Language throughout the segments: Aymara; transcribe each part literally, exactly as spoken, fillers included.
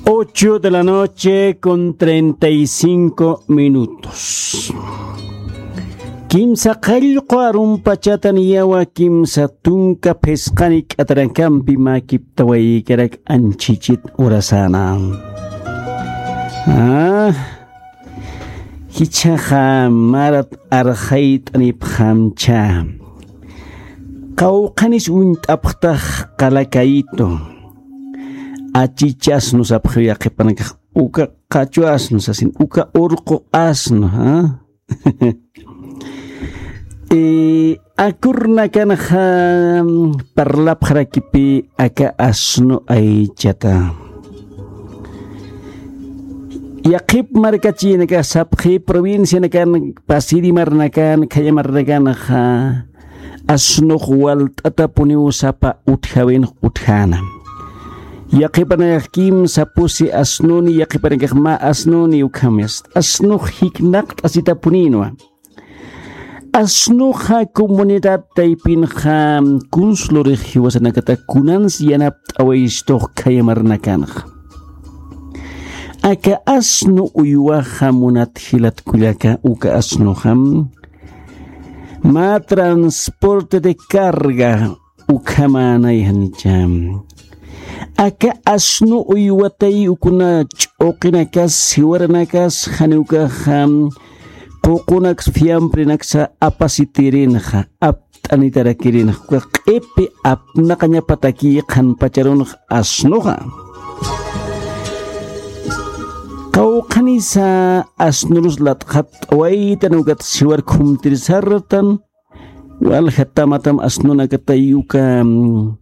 Ocho de la noche con treinta y cinco minutos. Kimsa qallqu arumpachata niyawa, kimsa tunka phisqani k'atarakampi mä kiptawaykarak anchhichit urasana. Ah, jichhaxa marat arxayt'anipxamcha. Qawqhanis uñt'apxtax qalakayitu. Achichasnu sapxiw yaqhipanakax uka qachwasnu sasin, uka urqu asnu, ¿ah? Eh, akurnakanxa parlapxarakipï aka asnu aychata. Yaqhip markachïnakax sapxi provincianakan, pasiri marnakan, khaya marnakanxa asnux walt'atapuniw sapa utjäwinx utjäna. Yaqhipanakax kimsa pusi asnuni, yaqhipanakax mä asnuni, ukhamyast asnux jiknaqt'asitapunïnwa. Asnuxa comunidad taypinxa kunslurix jiwasanakata kunans yanapt'awayistux khaya marnakanxa. Aka asnu uywaxa munat jilat kullaka, uka asnuxa mä transporte de carga ukhamänay janicha. Aka asnu uywatay ukuna ch'uqinakas, jiwaranakas, jani ukaxa ququnaks fiambrenaksa apasitirinxa, apt'anitarakirinxa, uka q'ipi apnaqañapatakï qhanpacharunx asnuxa. Qawqhanisa asnurus lat'xatt'awaytan, ukat jiwar khumtirisartan, walja tamatam asnunakatay uka, mm,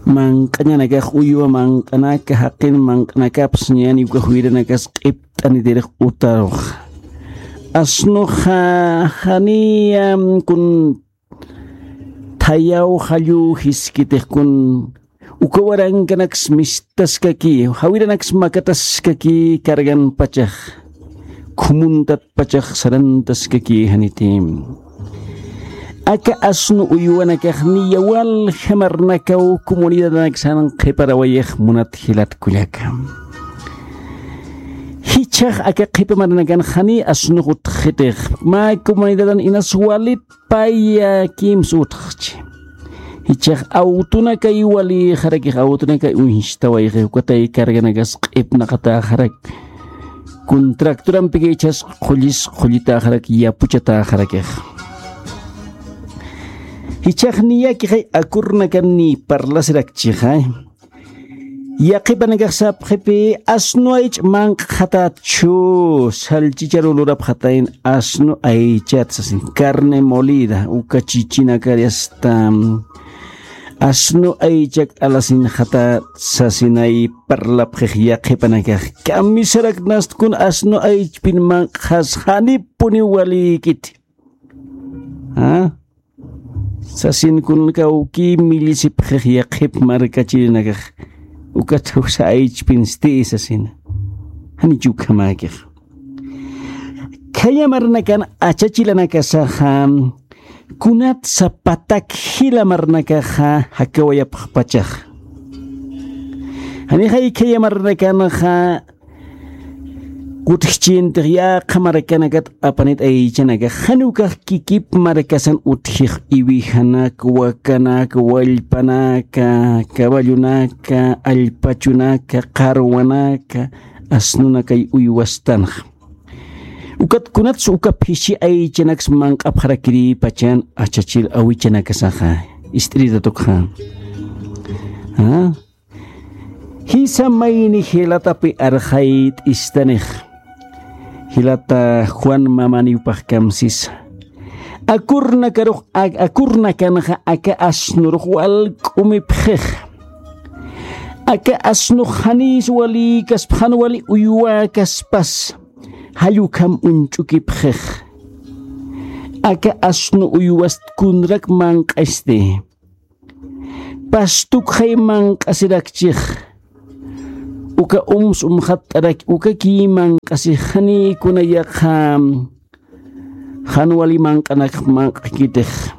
manq'añanakax, uywa manq'anaka, jaqin manq'anakapas ñani uka juyranakas q'ipt'anitirix utarux. Asnuxa janiya, mm, kun thayaw jallu jiskitix kun uka warankanaks mistaskaki, jawiranaks makataskaki carganpachax, khumuntatpachax sarantaskaki janiti. Aka asnu uywanakax niya walja marnakaw comunidadanaksan qhiparawayix munat jilat kullaka. Jichhax aka qhipa marnakan jani asnux utjxitix, mä comunidadan inas walit paya kimsa utjxchi. Jichhax awtunakay walïxarakix, awtunakay uñstawayxi, ukatay carganakas q'ipnaqatäxarak. Kun tractorampiki jichhas qullis qullitäxarak, yapuchatäxarakix. Jichhax niyakixay akurnakan niy parlasirakchixay. Yaqhipanakax sapxipï, asnu aych manq'xatätchu, salchicharu lurapxatayn asnu aychat sasin, carne molida, uka chichinakar asta, asnu aychak alasinxatät sasinay parlapxix yaqhipanakax. Kamisaraknast kun asnu aychpin manq'xas janipuniw walïkiti. ¿Ah? Sasin kun kawki millisipxix yaqhip markachirinakax, ukat jusa aychpinsti sasina. Janich ukhamäkix. Khaya marnakan achachilanakasaxa, kunatsa patak jila marnakaxa jakawayapxpachax. Janixay khaya marnakanxa, kutjchintix yaqha markanakat apanit aychanakax, jan ukax kikip markasan utjix, iwijanak, wakanak, wallpanaka, caballonaka, allpachunaka, qarwanaka, asnunakay uywastanxa. Ukat kunatsa uka phisi aychanaks manq'apxarakirïpachan achachil awichanakasaxa, ist'iritatukxa. ¿Ah? Jisa mayni jilatapi arxayt'istanix. Jilata Juan Mamaniw pajkamsisa. Akurnakarux, ak-, akurnakanxa aka asnurux walk'umipxix. Aka asnux janis walïkaspa, jan wali uywäkaspas. Jall ukham uñch'ukipxix. Aka asnu uywast kunrak manq'asti. Pastukxay manq'asirakchix. Uka ums umxatt'arak, ukakï manq'asix, jani kuna yaqha jan wali manq'anak manq'kitix.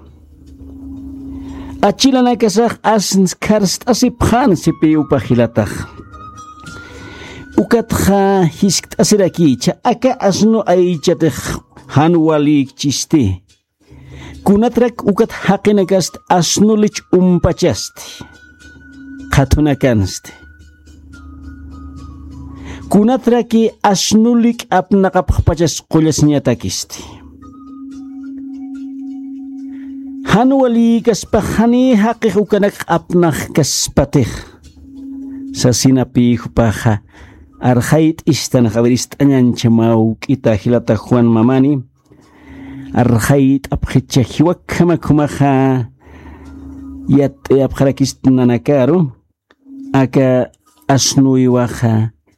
Achilanakasax asns kharst'asipxän sipï upa jilatax. Ukatxa jiskt'asirakicha aka asnu aychatix jan walïkchisti. Kunatrak ukat jaqinakast asnulich umpachasti, qhathunakansti. Kunatraki asnulik apnaqapxpachas qullasiñatakisti. Jan walïkaspax jani jaqix ukanak apnaqkaspatix, sasinapï jupaxa arxayt'istanax. A ver, ist'añancha mä juk'ita jilata Juan Mamani, arxayt'apxicha jiwakjamak jumaxa yatt'ayapxarakist nanakaru, aka asnuwiwaxa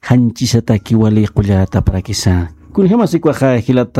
janchisataki wali qullatapxarakisa. Kunjamasikuwaxa jilata